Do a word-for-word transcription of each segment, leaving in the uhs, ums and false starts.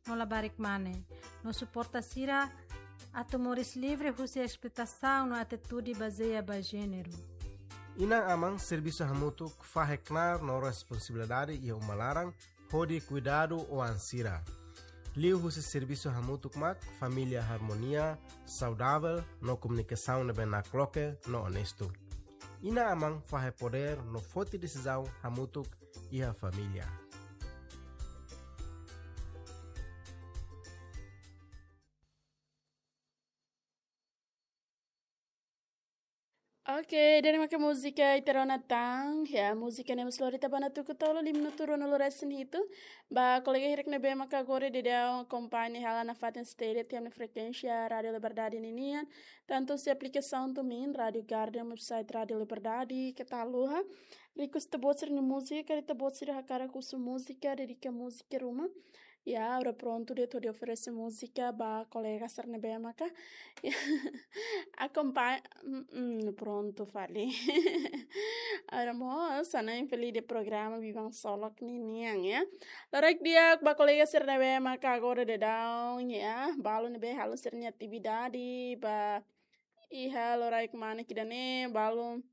no labarik mane, no suporta sira atu moris livre husi esploitasaun no atitude bazeia ba jéneru. Inan-aman servisu hamutuk fahe knaar no responsabilidade iha uma laran hodi kuidadu oan sira. Liuhusi servisu hamutuk mak família harmonia, saudavel no komunikasaun ne'ebé nakloke no onestu. Inan-aman fahe podér no foti desizaun hamutuk iha família. Oke, ida-ne'e maka múzika ita rona tan, ya, múzika ne'e mós lori ita ba ona tuku tolu, lima minutu ruanulu resin hitu. Ba kolega hirak ne'ebé maka agora daudaun akompaña hela nafatin steady tiha ona frekuénsia Rádiu Liberdade ninian, tantu husi aplikasaun TuneIn, Rádiu Garden, website Rádiu Liberdade, keta haluha. Request ita-boot sira-nia múzika, karik ita-boot sira hakarak husu múzika, dedika múzika ruma. Ya, agora prontu de'it hodi oferese múzika ba kolega sira ne'ebé maka akompaña, mm, mm, prontu fali. Agora mós hanesan infeliz de programa Biban Solok ninian, ya. Loraik di'ak ba kolega sira ne'ebé maka agora daudaun, ya, balu ne'ebé halo sira-nia atividade, ba iha loraik mane ida-ne'e, balu,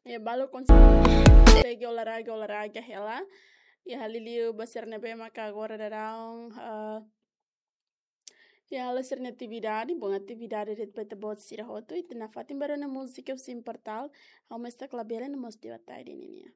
ya, balu konsege olahraga, olahraga hela. Ya, liuliu ba sira ne'ebé maka agora daudaun, eh, ya, halo sira-nia atividade, bom atividade de'it ba ita-boot sira hotu, ita nafatin ba rona múzika husi Portal, Ha'u Mós Ita Labele no mós Dewa Taide ninian.